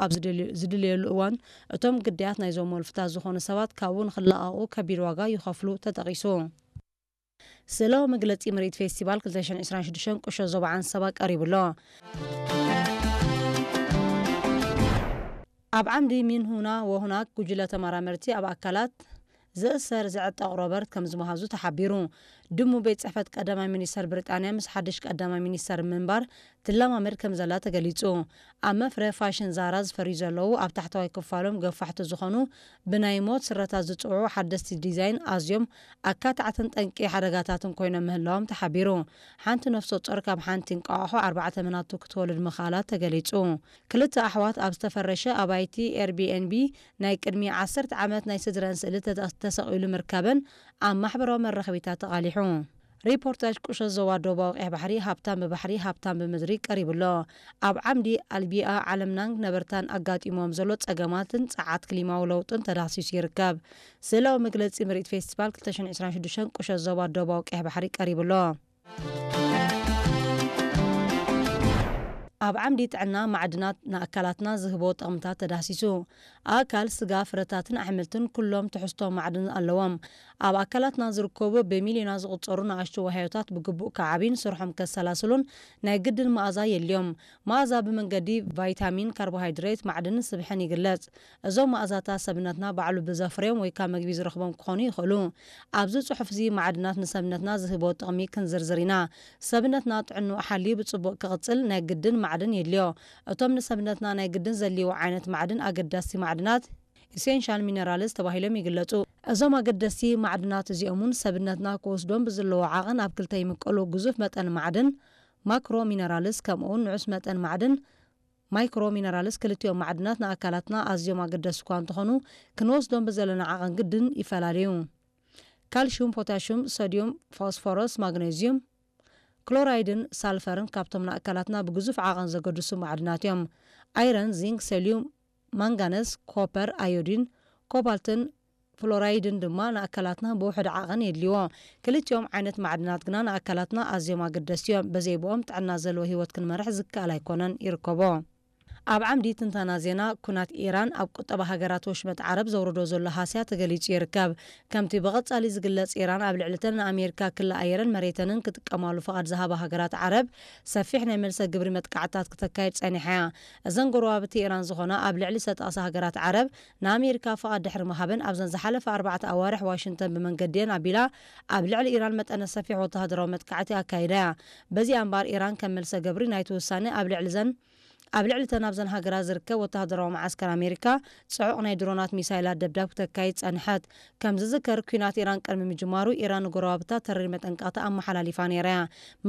ኣብ ዝድል- ዝድለየሉ እዋን እቶም ግዳያት ናይዞም ወልፍታት ዝኾኑ ሰባት ካብኡ ንኽለቐቑ ከቢድ ዋጋ ይኸፍሉ ተጠቒሱ። ስእላዊ መግለጺ ምርኢት ፌስቲቫል ክልተ ሽሕን ዕስራን ሽዱሽተን ቁሸት ዞባ ዓንሰባ ቀሪቡ ኣሎ። ኣብ ዓምዲ ሚንሁና ወሁናክ ጉጅለ ተመራመርቲ ኣብ ኣካላት ዝእሰር ዝዕጠቕ ሮበርት ከም ዝመሃዙ ተሓቢሩ። ድሙ ቤት ጽሕፈት ቀዳማይ ሚኒስተር ብሪጣንያ ምስ ሓድሽ ቀዳማይ ሚኒስተር ምንባር ትለማመድ ከም ዘላ ተገሊጹ። ኣብ መፍረ ፋሽን ዛራ ዝፈርዩ ዘለዉ ኣብ ታሕተዋይ ክፋሎም ገፋሕቲ ዝኾኑ ብናይ ሞት ስረታት ዝጽውዑ ሓደስቲ ዲዛይን ኣዝዮም ኣካታዕትን ጠንቂ ሓደጋታትን ኮይኖም ምህላዎም ተሓቢሩ። ሓንቲ ነፍሰ ጾር ካብ ሓንቲ እንቋቑሖ ኣርባዕተ መናቱ ክትወልድ ምኽኣላ ተገሊጹ። ክልተ ኣሕዋት ኣብ ዝተፈረሸ ኣባይቲ ኤርቢኤንቢ ናይ ቅድሚ ዓሰርተ ዓመት ናይ ስድረን ስእሊ ተተ- ተሰቒሉ ምርካበን ኣብ ማሕበራዊ መራኸቢታት ተቓሊሑ። ሪፖርታጅ ቁሸት ዞባ ደቡባዊ ቀይሕ ባሕሪ ሃብታም ብባሕሪ ሃብታም ብምድሪ ቀሪቡ ኣሎ። ኣብ ዓምዲ ኣልቢኣ ዓለምናን ነበርታን ኣጋጢሞም ዘሎ ጸገማትን ጸዓት ክሊማዊ ለውጥን ተዳህሲሱ ይርከብ። ስእላዊ መግለጺ ምርኢት ፌስቲቫል ክልተ ሽሕን ዕስራን ሽዱሽተን ቁሸት ዞባ ደቡባዊ ቀይሕ ባሕሪ ቀሪቡ ኣሎ። ኣብ ዓምዲ ጥዕና ማዕድናት ንኣካላትና ዝህቦ ጥቕምታት ተዳህሲሱ። ኣካል፣ ስጋ፣ ፍረታትን ኣሕምልትን ኩሎም ትሕዝቶ ማዕድን ኣለዎም። ኣብ ኣካላትና ዝርከቡ ብሚልዮናት ዝቑጸሩ ንኣሽቱ ዋህዮታት ብግቡእ ክዓብዩን ስርሖም ከሰላስሉን ናይ ግድን መኣዛ የድልዮም። መኣዛ ብመንገዲ ቫይታሚን፣ ካርቦሃይድሬት፣ ማዕድንን ስብሕን ይግለጽ። እዞም መኣዛታት ሰብነትና ባዕሉ ብዘፍርዮም ወይ ካብ መግቢ ዝረኽቦም ክኾኑ ይኽእሉ። ኣብዚ ጽሑፍ እዚ ማዕድናት ንሰብነትና ዝህቦ ጥቕሚ ክንዝርዝር ኢና። ሰብነትና ጥዕንኡ ሓልዩ ብጽቡቕ ክቕጽል ናይ ግድን ማዕድን የድልዮ። እቶም ንሰብነትና ናይ ግድን ዘድልይዎ ዓይነት ማዕድን ኣገዳሲ ማዕድናት ኢሴንሻል ሚነራልስ ተባሂሎም ይግለጹ። እዞም ኣገደስቲ ማዕድናት እዚኦም እውን ሰብነትና ክወስዶም ብዝለዎ ዓቐን ኣብ ክልተ ይምቀሉ። ግዙፍ መጠን ማዕድን ማክሮ ሚነራልስ ከምኡውን ንዑስ መጠን ማዕድን ማይክሮ ሚነራልስ ክልቲኦም ማዕድናት ንኣካላትና ኣዝዮም ኣገደስቲ እኳ እንተኾኑ ክንወስዶም ብዘለና ዓቐን ግድን ይፈላለዩ። ካልሽዩም፣ ፖታሽዩም፣ ሶድዩም፣ ፎስፎረስ፣ ማግነዝዩም፣ ክሎራይድን ሳልፈርን ካብቶም ንኣካላትና ብግዙፍ ዓቐን ዘገድሱ ማዕድናት እዮም። ኣይረን፣ ዚንክ፣ ሰልዩም፣ ማንጋነስ፣ ኮፐር፣ ኣዮዲን፣ ኮባልትን ፍሎራይድን ድማ ንኣካላትና ብውሑድ ዓቐን የድልይዎ። ክልቲኦም ዓይነት ማዕድናት ግና ንኣካላትና ኣዝዮም ኣገደስቲ እዮም። በዘይብኦም ጥዕና ዘለዎ ህይወት ክንመርሕ ዝከኣል ኣይኮነን። ይርከቦ። ኣብ ዓምዲ ትንተና ዜና፣ ኩናት ኢራን ኣብ ቁጠባ ሃገራት ወሽመጥ ዓረብ ዘውርዶ ዘሎ ሃስያ ተገሊጹ ይርከብ። ከምቲ ብቐጻሊ ዝግለጽ፣ ኢራን ኣብ ልዕሊ እተን ንኣሜሪካ ክሊ ኣየረን መሬተንን ክጥቀማሉ ፍቓድ ዝሃባ ሃገራት ዓረብ ሰፊሕ ናይ መልሰ ግብሪ መጥቃዕትታት ክተካይድ ጸኒሓ እያ። እዘን ጎረባብቲ ኢራን ዝኾና ኣብ ልዕሊ ዝተጠቕሳ ሃገራት ዓረብ ንኣሜሪካ ፍቓድ ድሕሪ ምሃበን ኣብዘን ዝሓለፈ ኣርባዕተ ኣዋርሕ ዋሽንግተን ብመንገዲየን ኣቢላ ኣብ ልዕሊ ኢራን መጠነ ሰፊሕ ወተሃደራዊ መጥቃዕቲ ኣካይዳ እያ። በዚኣ እምበኣር ኢራን ከም መልሰ ግብሪ ናይቲ ውሳነ ኣብ ልዕሊ ዘን ኣብ ልዕሊ እተን ኣብዘን ሃገራት ዝርከብ ወተሃደራዊ መዓስከር ኣሜሪካ ጽዑቕ ናይ ድሮናት ሚሳይላት ደብዳብ ክተካይድ ጸንሐት። ከም ዝዝከር ኲናት ኢራን ቅድሚ ምጅማሩ ኢራን ንጎረባብታ ተሪር መጠንቀቕታ ኣመሓላሊፋ ነይራ እያ።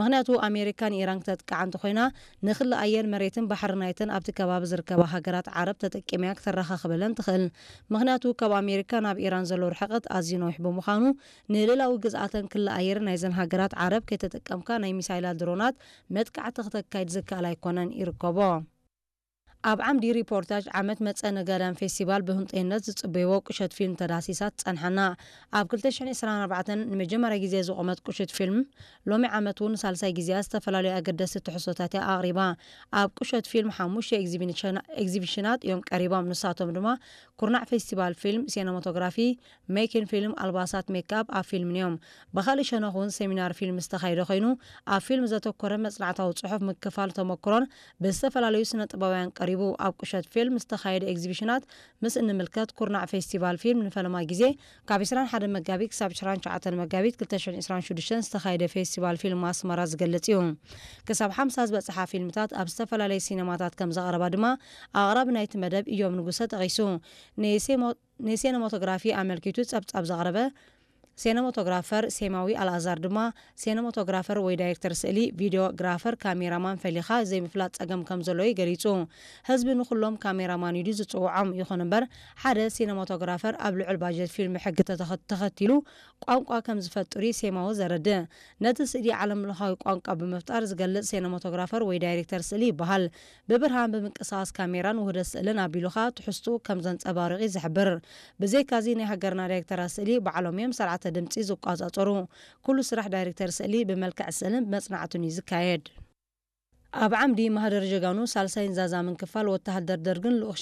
ምኽንያቱ ኣሜሪካ ንኢራን ክተጥቅዓ እንተኾይና ንክሊ ኣየር መሬትን ባሕሪ ናይተን ኣብቲ ከባቢ ዝርከባ ሃገራት ዓረብ ተጠቂማ እያ ክተረኻኽበለን ትኽእል። ምኽንያቱ ካብ ኣሜሪካ ናብ ኢራን ዘሎ ርሕቀት ኣዝዩ ነዊሕ ብምዃኑ ንልእላዊ ግዝኣተን ክሊ ኣየር ናይዘን ሃገራት ዓረብ ከይተጠቀምካ ናይ ሚሳይላት ድሮናት መጥቃዕቲ ክተካይድ ዝከኣል ኣይኮነን። ይርከቦ። ኣብ ዓምዲ ሪፖርታጅ ዓመት መጸ ነጋዳን ፌስቲቫል ብህንጠይነት ዝጽበይዎ ቁሸት ፊልም ተዳሲሳ ትጸንሓና። ኣብ ክልተ ሽሕን ዕስራን ኣርባዕተን ንመጀመርያ ግዜ ዝቖመት ቁሽት ፊልም ሎሚ ዓመት እውን ንሳልሳይ ግዜኣ ዝተፈላለዩ ኣገደስቲ ትሕዝቶታት እያ ኣቕሪባ። ኣብ ቁሸት ፊልም ሓሙሽተ ኤግዚቢሽና- ኤግዚቢሽናት እዮም ቀሪቦም። ንሳቶም ድማ ኩርናዕ ፌስቲቫል ፊልም፣ ሲነማቶግራፊ፣ ሜኪን ፊልም፣ ኣልባሳት፣ ሜክኣፕ ኣብ ፊልምን እዮም። ብኻልእ ሸነኽ እውን ሰሚናር ፊልም ዝተኻየደ ኮይኑ ኣብ ፊልም ዘተኮረ መጽናዕታዊ ጽሑፍ፣ ምክፋል ተመክሮን ብዝተፈላለዩ ስነ ጥበባውያን ቀሪቡ። ኣብ ቁሸት ፊልም ዝተኻየደ ኤግዚቢሽናት ምስ እንምልከት ኩርናዕ ፌስቲቫል ፊልም ንፈለማ ግዜ ካብ ዕስራን ሓደን መጋቢት ክሳብ ዕስራን ትሽዓተን መጋቢት ክልተ ሽሕን ዕስራን ሽዱሽተን ዝተኻየደ ፌስቲቫል ፊልም ኣስመራ ዝገልጽ እዩ። ክሳብ ሓምሳ ዝበጽሓ ፊልምታት ኣብ ዝተፈላለዩ ሲነማታት ከም ዘቕረባ ድማ ኣቕራቢ ናይቲ መደብ እዮም ንጉሰ ጠቒሱ። ንሴሞ- ንሴነማቶግራፊ ኣመልኪቱ ጸብጻብ ዘቕረበ ሴነማቶግራፈር ሴማዊ ኣልኣዛር ድማ ሴነማቶግራፈር ወይ ዳይሬክተር ስእሊ፣ ቪድዮ ግራፈር፣ ካሜራማን ፈሊኻ ዘይምፍላጥ ጸገም ከም ዘሎ እዩ ገሊጹ። ህዝቢ ንኹሎም ካሜራማን ኢሉ ዝጽውዖም። ይኹን እምበር ሓደ ሲነማቶግራፈር ኣብ ልዑል ባጀት ፊልም ሕጊ ተተኸ- ተኸቲሉ ቋንቋ ከም ዝፈጥር እዩ ሴማዊ ዘረድእ። ነቲ ስእሊ ዓለምለኻዊ ቋንቋ ብምፍጣር ዝገልጽ ሲነማቶግራፈር ወይ ዳይሬክተር ስእሊ ይበሃል። ብብርሃን፣ ብምንቅስቓስ ካሜራን ውህደት ስእልን ኣቢሉኻ ትሕዝትኡ ከም ዘንጸባርቕ እዩ ዝሕብር። ብዘይካዚ ናይ ሃገርና ዳይሬክተራት ስእሊ ባዕሎም እዮም ስርዓተ ድምጺ ዝቋጻጸሩ። ኩሉ ስራሕ ዳይሬክተር ስእሊ ብመልክዕ ስእልን ብመጽናዕትን እዩ ዝካየድ። ኣብ ዓምዲ ማህደር ጀጋኑ ሳልሳይን ዛዛምን ክፋል ወተሃደር ደርግን ልኡኽ